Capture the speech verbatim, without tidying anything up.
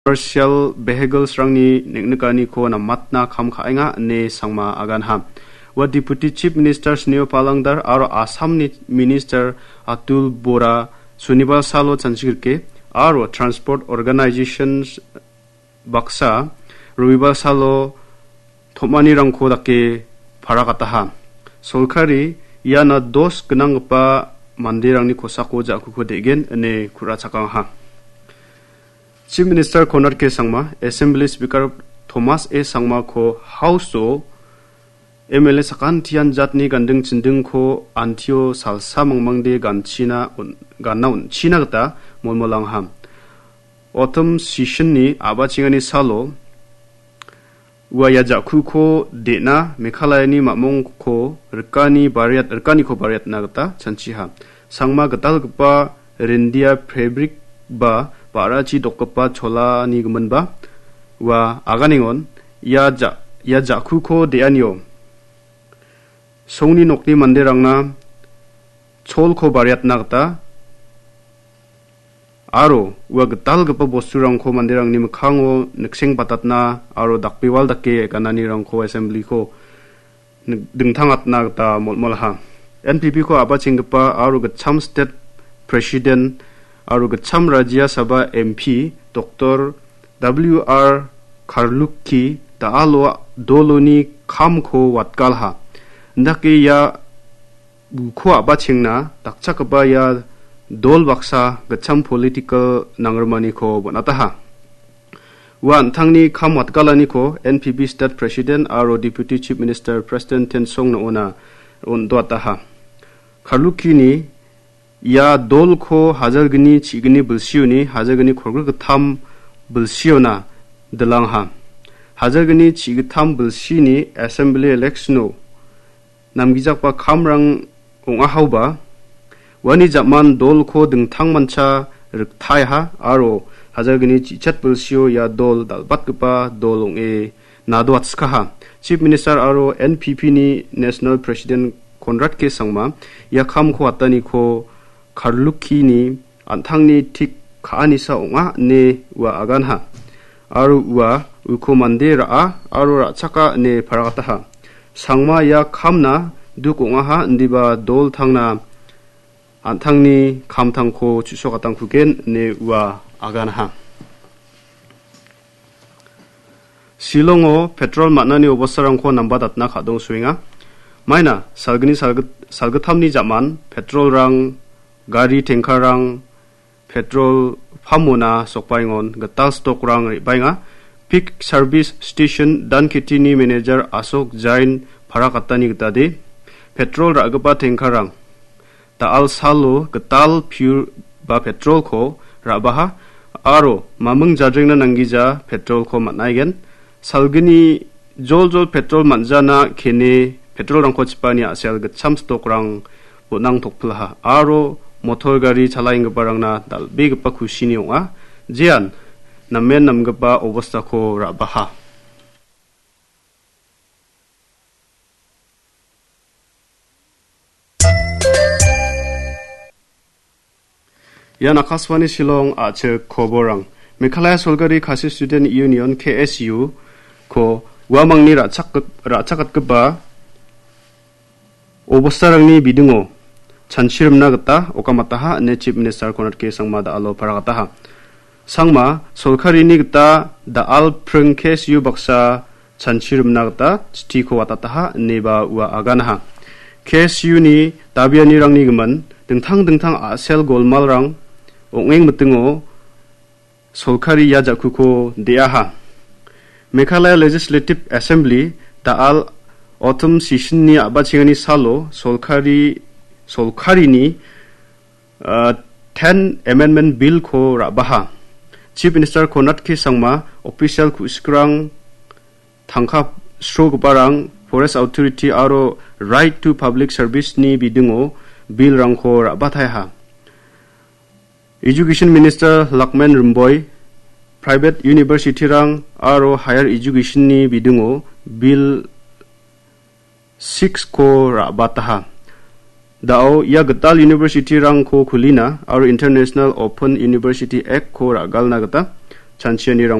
commercial vehicles-rangni neng·nikaniko namatna kam ka·enga ine Sangma aganha. Ua Deputy Chief Minister Snehaw Palangdar aro Assamni Minister Atul Bora Sunibar salo chanchigrike aro Transport Organizations baksa Robibar salo tom·anirangko dake paragataha. Solkari iana dos gnanggipa manderangni kosako ja·kuko de·gen ine ku·rachakangaha. Chief Minister Conrad K Sangma, Assembly Speaker Thomas A Sangmako House-o M L A sakantian jatni ganding chindingko antio salsa mangmangde ganchina on-, ganna on·china gita molmolangaha. Autumn session-ni a·bachengani salo ua ia ja·kuko de·na Meghalayani mamongko rikani bariat-, rikaniko bariatna gita chanchiha. Sangma gitalgipa rindia fabric ba ba·rachi dokgipa cholani giminba ua aganengon ia ja-, ia ja·kuko de·anio songni nokni manderangna cholko bariatna gita aro ua gitalgipa bosturangko manderangni mikkango nikseng batatna aro dakbewal dake gananirangko assembly-ko nik-, dingtangatna gita molmolaha. N P P-ko a·bachenggipa aro gitcham state president aro gitcham Rajya Sabha M P Doctor W R Kharlukhi da·alo doloni kamko watgalha. Indake ia uko a·bachengna dakchakgipa ia dol baksa gitcham political nangrimaniko bon·ataha. Ua an·tangni kam watgalaniko N P P State President aro Deputy Chief Minister President Tensong Noona on·doataha. Kharlukhini ia dolko hajalgni chigni bilsioni hajalgni kolgrikgittam bilsiona dilangha. Hajalgni chigittam bilsini Assembly election-o namgijakba kamrang ong·ahaoba, uani ja·man dolko dingtangmancha riktaiha aro hajalgni chichat bilsio ia dol dal·batgipa dol ong·e nadoatskaha. Chief Minister aro N P P-ni National President Conrad K Sangma ia kamko ataniko Kharlukhini an·tangni tik ka·anisa ong·a ine ua aganha. Aro ua uko mande ra·a aro ra·chaka ine paragataha. Sangma ia kamna duk ong·aha indiba dol tangna an·tangni kamtangko chu·sokatangkugen ine ua aganha. Shillongo petrol man·ani obostarangko nambatatna ka·dongsoenga. Maina salgni salgit-, salgittamni ja·man petrolrang, gari tankerrang, petrol pump-ona sokbaengon gital stock-rang re·baenga. Peak Service Station Danketini manager Ashok Jain parakatani gitade, petrol ra·gipa tankerrang da·al salo gital pure ba petrolko ra·baha aro maming jadrengna nanggija petrolko man·aigen. Salgni joljol petrol man·jana kene petrolrangko chipani a·sel gitcham stock-rang bon·ang tokpilaha aro motor gari chalaenggiparangna dal·begipa kusini ong·a. Jean namen namgipa obostako ra·baha. Ian Akashvani Shillong a·chik koborrang. Meghalaya Solgari Khasi Student Union, K S U, ko uamangni ra·chak-, ra·chakatgipa obostarangni bidingo chanchirimna gita okamataha ine Chief Minister Conrad K Sangma da·alo paragataha. Sangma solkarini gita da·al pring K S U baksa chanchirimna gita chitiko watataha ineba ua aganaha. K S U-ni dabianirangni gimin dingtang dingtang a·sel golmalrang ong·eng mitingo solkari ia ja·kuko de·aha. Meghalaya Legislative Assembly da·al autumn session-ni a·bachengani salo solkari, solkarini, ah, ten Amendment Bill-ko ra·baha. Chief Minister Conrad K Sangma, official ku·sikrang, tangka srogiparang, Forest Authority aro Right to Public Service-ni bidingo bill-rangko ra·bataiha. Education Minister Lakman Rimboi, private university-rang aro higher education-ni bidingo bill six-ko ra·bataha. Da·o ia gital university-rangko kulina aro International Open University Act-ko ra·galna gita chanchianirang